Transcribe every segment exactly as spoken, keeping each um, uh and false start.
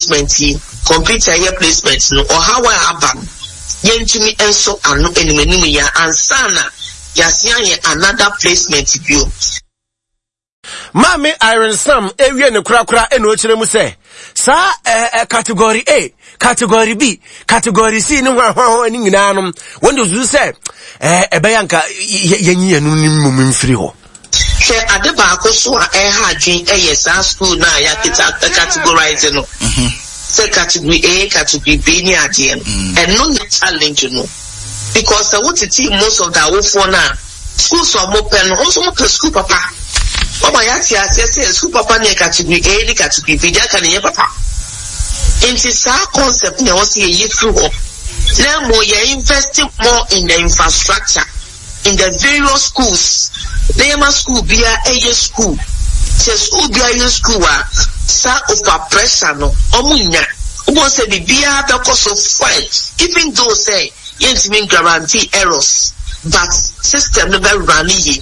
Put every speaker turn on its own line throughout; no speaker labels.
Placement yi, computer yɛ placement no, ɔhaw a aba no, yɛntumi nso ano anim anim yɛ ansa na yɛasen ayɛ another placement bio.
Maame Irene Sam ewie ne korakora ɛna ɔkyerɛ mu sɛ saa ɛɛ ɛ category A, category B, category C ne ho ahoahoa ne nyinaa no, wɔn de susu sɛ ɛɛ ɛbɛyɛ anka yɛnyi yɛn no mu mfiri hɔ.
Hwɛ, ade baako so a ɛha adwen ɛyɛ saa school no a yɛaketa categorize no sɛ category A, category B ne adeɛ no. Ɛno ne challenge no, because sɛ wotete most of the awofoɔ no a, schools a wɔpɛ no, wɔn nso wɔpɛ school papa. Wɔma yɛate aseɛ sɛ school papa ne yɛ category A ne category B, deɛ aka ne yɛ papa. Nti saa concept na ɛwɔ sɛ yɛyi firi hɔ na mmom yɛ invest more in the infrastructure in the various schools, na yɛma school biara ɛyɛ school. Sɛ school biara yɛ school a, saa over pressure no ɔmo nya wobɔ sɛ biribiara bɛkɔ so fine, even though sɛ yɛntumi guarantee errors, but system no bɛ run yie.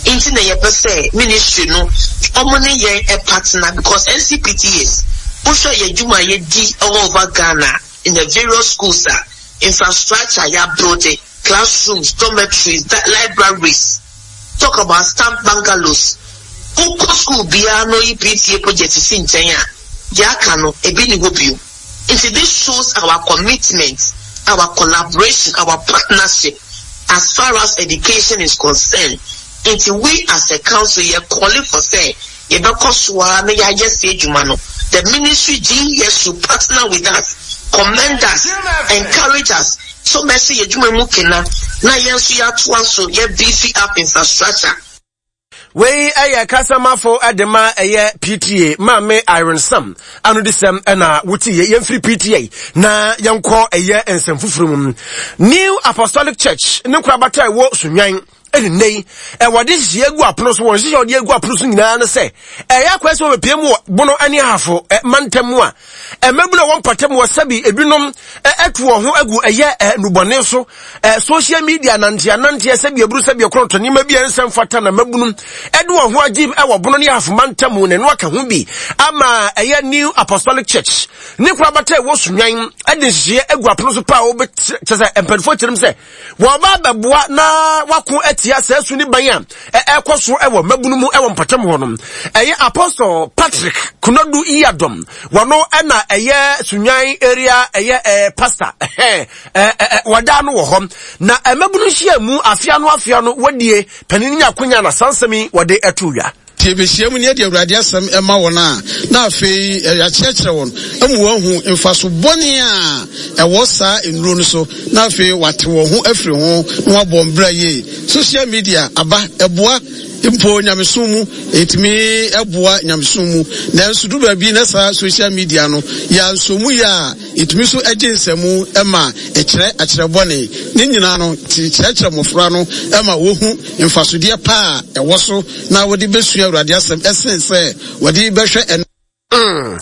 Nti na yɛpɛ sɛ ministry no, ɔmo ne yɛn ɛ partner, because N C P T As, wohwɛ yɛ adwuma a yɛdi all over Ghana in the various schools a, infrastructure yɛ build, classrooms, dormitories, libraries, talk about staff bungalows. Wokɔ school biara no, yi P T A project si nkyɛn a, deɛ aka no ebi ni hɔ bio. Nti this shows our commitment, our collaboration, our partnership as far as education is concerned. Nti we as a council, yɛ calling for say yɛbɛkɔ so a na yɛayɛ sɛ adwuma no, the ministry G E S should partner with us, commend us, encourage us, so mɛsɛ yɛ adwuma mu kena na yɛn nso yɛatoa so yɛ beef up infrastructure.
Wei ɛyɛ kasamafo ɛde ma ɛyɛ P T A, Maame Irene Sam ano de sɛm ɛna wote yɛ. Yɛmfiri P T A na yɛnkɔ ɛyɛ nsɛm foforɔ mu. New Apostolic Church ne nkorabata a ɛwɔ Sunyani ɛne nne yi ɛwɔde nhyehyɛ agu apono so. Wɔn nhyehyɛ wɔde agu apono so nyinaa no sɛ ɛyɛ akwan sɛ wɔbɛpie mu wɔ Bono ne Ahafo mantam mu a, mmabunu a wɔn mpɔtam wɔ sɛbi ebinom ɛto wɔn ho agu ɛyɛ nnubɔne so, social media nanteɛ nanteɛ, sɛbi eburu, sɛbi ɛkorɔntɔ, nneɛma bi a nsɛm fata na mmabunu ɛde wɔn ho agye ɛwɔ Bono ne Ahafo mantam mu. Na ɛno aka ho bi ama ɛyɛ New Apostolic Church ne korabata ɛwɔ Sunyani ɛde nhyehyɛ agu apono so pa a wɔbɛkyerɛ sɛ mpanimfoɔ kyerɛ mu sɛ wɔba bɛboa na wako atia saa su ne ban a ɛkɔ so ɛwɔ mmabunu mu ɛwɔ mpɔtam hɔ no. Ɛyɛ Apostle Patrick Kunadu Yiadom, wɔno ɛna ɛyɛ Sunyani area ɛyɛ ɛɛ pastor ɛhɛn ɛɛ wɔda no wɔ hɔ na mmabunu hyia mu afia no afia no wɔdie panin nya akonya na sansɛm yi wɔde ɛto wia.
Nti yɛbɛhyia mu ne yɛde Awurade asɛm ɛma wɔn a, na afei yɛakyerɛkyerɛ wɔn amu wɔahu mfaso bɔne a ɛwɔ saa nnuro no so, na afei wate wɔn ho afiri ho na wabɔ mbra yie. Social media aba, ɛboa mpo nyamesom mu, ɛtumi ɛboa nyamesom mu, nanso du baabi na saa social media no yɛanso mu yɛ a, ɛtumi so agye nsɛmu ɛma ɛkyerɛ akyerɛ bɔne ne nyinaa no. Kyerɛkyerɛ mmɔfra no ɛma wɔhu mfasodeɛ pa a ɛwɔ so na wɔde bɛsua Awurade asɛm ɛsen sɛ wɔde bɛhwɛ ɛno.
Mm.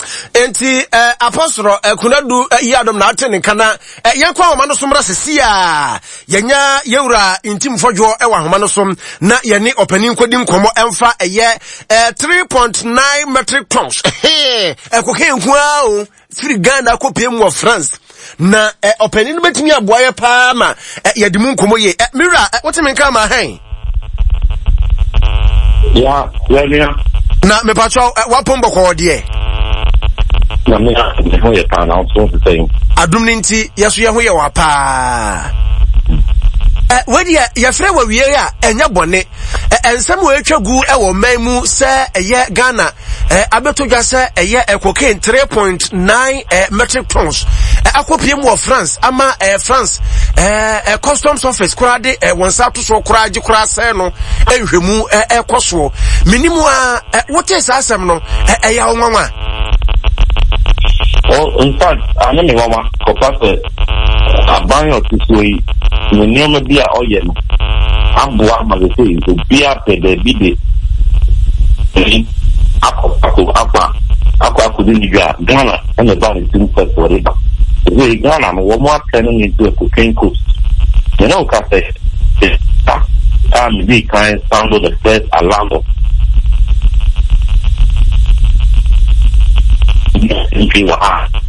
Nti eh, Apostle eh, Kunadu eh, yi adom na ate ne nka na eh, yɛnkɔ ahoma no so mmra sesi a yɛnya yɛwura Ntim Fɔdwoɔ ɛwɔ ahoma no so na yɛne ɔpanin nkɔdi nkɔmmɔ ɛmfa ɛyɛ eh, three point nine metric tons ɛkɔka nko ara o firi Ghana akɔpie mu wɔ France na eh, ɔpanin no bɛtumi aboa yɛ paa ma eh, yɛde mu nkɔmmɔ yie. eh, mewura eh, wote me nka ma hɛn?
Ya, ya nua.
Na mepatwɛ wapɔn bɔkɔɔ deɛ?
Na me me ho yɛ paa, na wo nso sɛ?
Adom no nti yɛso yɛ ho yɛ wɔ paa. Wedeɛ yɛfrɛ wɔ wie a ɛnyɛ bɔne. Nsɛm wɔ atwa gu wɔ man mu sɛ ɛyɛ Ghana abɛtɔ dwa sɛ ɛyɛ cocaine three point nine metric tons akɔpie mu wɔ France ama France customs office koraa de wɔn nsa ato soɔ koraa gye koraa sɛ no nhwɛmu ɛkɔ soɔ. Menimu a wote saa asɛm no, ɛyɛ wo nwanwa?
In fact, anyɛ me nwanwa kɔfa sɛ aban a ɔte soɔ yi ne nneɛma bi a ɔyɛ no aboa ma sɛ sɛ obiara pɛ baabi de akɔ akɔ akɔ akɔ akɔdi ne dwa a, Ghana ɛna ɛba ne tirim first wɔde ba. Sɛ Ghana no, wɔn atɛ no ne into a cocaine coast. Mene wo ka sɛ a medi kan sound the first alarm of N P wɔ ha.